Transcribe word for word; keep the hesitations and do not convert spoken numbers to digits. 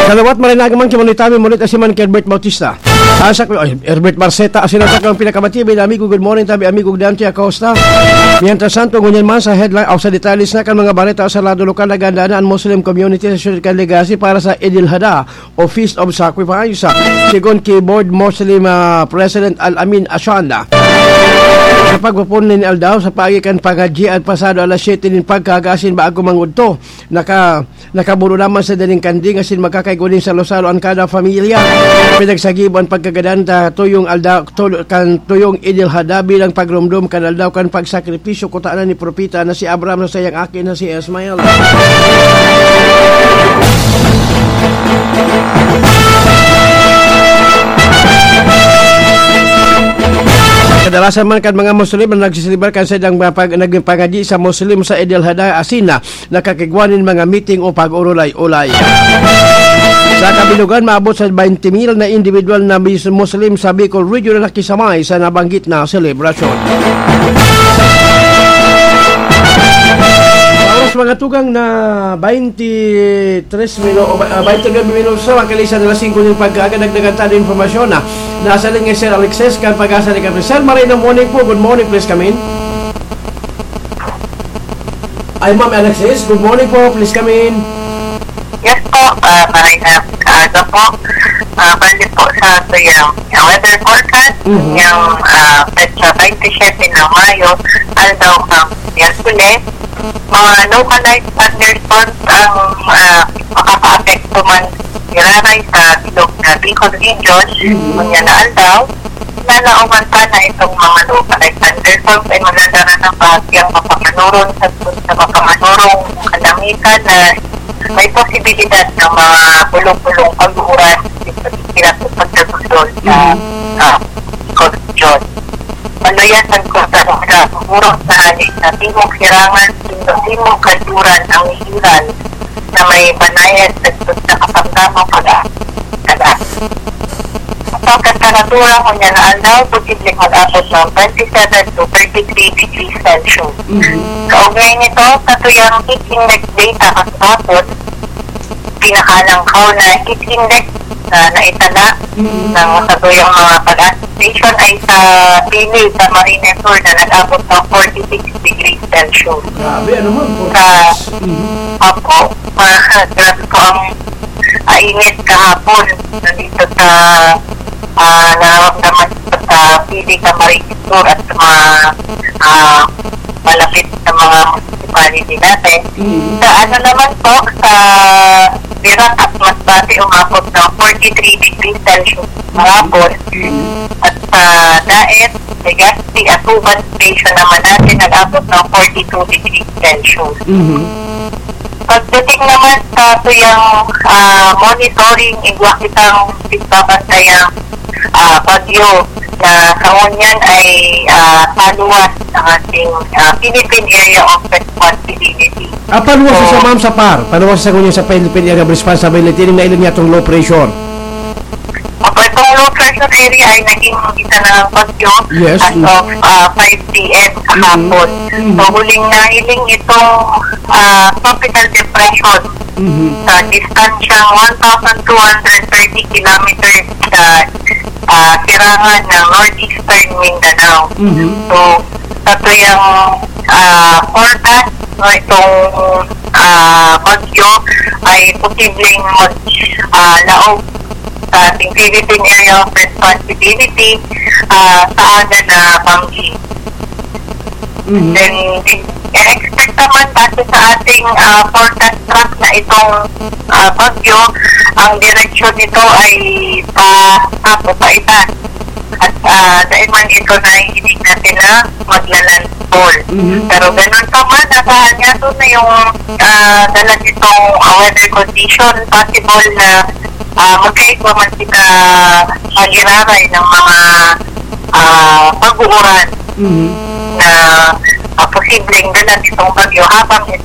Salawat, maray na agaman, kimanitami, mulit asiman ki Herbert Bautista. Asa ko, ay, Herbert Barceta, asin ang sakong pinakamatibay na amigo, good morning, tabi, amigo Dante Acosta. Mientras tanto, ngunyan man sa headline o sa detalles na kan mga bareta sa lado lokal, naganda na ang Muslim community sa siyudad kan Legazpi para sa Eid al-Adha o Feast of Sacrifice. Sigon ki Board Muslim, ah, President Al-Amin Ashanda. Sa pagpupon nin aldaw, sa paagi kan pangadyi, ang pasado alas siyete nin pagkaaga asin bago mangudto, naka-, nakaburo naman sa daning kanding asin magkakaigwa nin salo-salo an kada pamilya. Pinagsagibo an pagkagadan ta tuyong aldaw, tul-, kan tuyong Eid al-Adha bilang pagromdom kan aldaw kan pagsakripisyo kutana ni propeta na si Abraham sa saiyang aki na si Ismael. Kadalasan man kan mga Muslim na nagsiselebrar kan saindang mga pag-, nagpangadyi sa Muslim sa Eid al-Adha asin na nakakigwa nin mga meeting o pag-urulay-ulay. Sa kabilugan, maabot sa twenty mil na individual na mis-, Muslim sa Bicol Region na nakisamay sa nabanggit na selebrasyon. Sa oras, mga tugang, na twenty-three minu-, o ba-, ah, twenty-nine minutos na, makalisan na alas singko nin pagkaaga, dagdagan ta nin impormasyon na nasa linya si Sir Alexis kan Pag-asa ni Capiz. Sir, maray na morning po. Good morning, please come in. Ay, Ma'am Alexis, good morning po. Please come in. Yes po, ah, maray na aga po. Ah, bali po sa tuyang, ah, weather forecast, Mhm. yung, ah, petsa twenty-seven ng Mayo, aldaw kang Miyerkules, mga localized thunderstorms ang, ah, makakaapekto man giraray sa bilog na Bicol Region, Mhm. ngunyan na aldaw. Lalaoman pa na itong mga localized thunderstorms ay magdadala ng bahagyang mapapanoron sa, sa mapapanoron kalamitan na may posibilidad ng mga bulong-bulong pag-uuran sa pagkakilap sa pagdagundol sa, Mhm. ah, Bicol Region. Maluya sa kota ng Mura, Mura sa hali sa Timog Sirangan, Timog Kanluran ang ihilan na may banayad sa sa kasamtamang pag-asa. Ang temperatura ngunyan na aldaw, posibleng mag-abot ng twenty-seven to thirty-three degrees Celsius. Mhm. Kaugnay nito, sa tuyang heat index data kahapon, pinakalangkaw na heat index na naitala Mhm. ng sa tuyang mga pag-asa station ay sa Pili, sa Camarines Sur na nag-abot ng forty-six degrees Celsius. Grabe, ano man, Sa, forty-six. Mhm. Opo, ah, grabe po ang, ah, init kahapon nandito sa, ah, nararamdaman ko sa Pili, Camarines Sur at sa mga, ah, malapit sa mga municipality natin. Mhm. Sa ano naman po, sa Dirac at Masbate, umabot ng forty-three degrees Celsius kahapon. Mhm. At sa Daet, Legazpi at Uban Station naman natin nag-abot ng forty-two degrees Celsius. Mhm. Pagdating naman sa tuyang, ah, monitoring, igwa kitang pagbabantayan, ah, bagyo na sa ngunyan ay, ah, paluwas ng ating, ah, Philippine Area of Responsibility. Ah, paluwas So, siya, ma'am, sa par. Paluwas siya ngunyan sa Philippine Area of Responsibility. Yung nailing niya itong low pressure. Opo, itong low pressure area ay naging isa na ng bagyo Yes, as mm. of, ah, five P M kahapon. Mm. Mm. So, huling nahiling itong, ah, tropical depression Mhm. sa distansyang one thousand two hundred thirty kilometers sa, ah, sirangan ng northeastern Mindanao. Mhm. So, sa tuyang, ah, forecast, no, itong, ah, bagyo ay posibleng mag, ah, laog sa ating Philippine Area of Responsibility, ah, sa aga na banggi. Mhm. Then, expect naman base sa ating, ah, forecast track na itong, ah, bagyo, ang direksyon nito ay pa, pa, pa itaas. At, ah, dahil man ito, naiinig natin na magla-landfall. Mhm. Pero ganun pa man, nasa hanyato na yung, ah, dala nitong, ah, weather condition. Possible na, ah, magkaigwa man kita magiraray ng mga, ah, pag-uuran Mhm. na, ah, posibleng dala nitong bagyo habang ito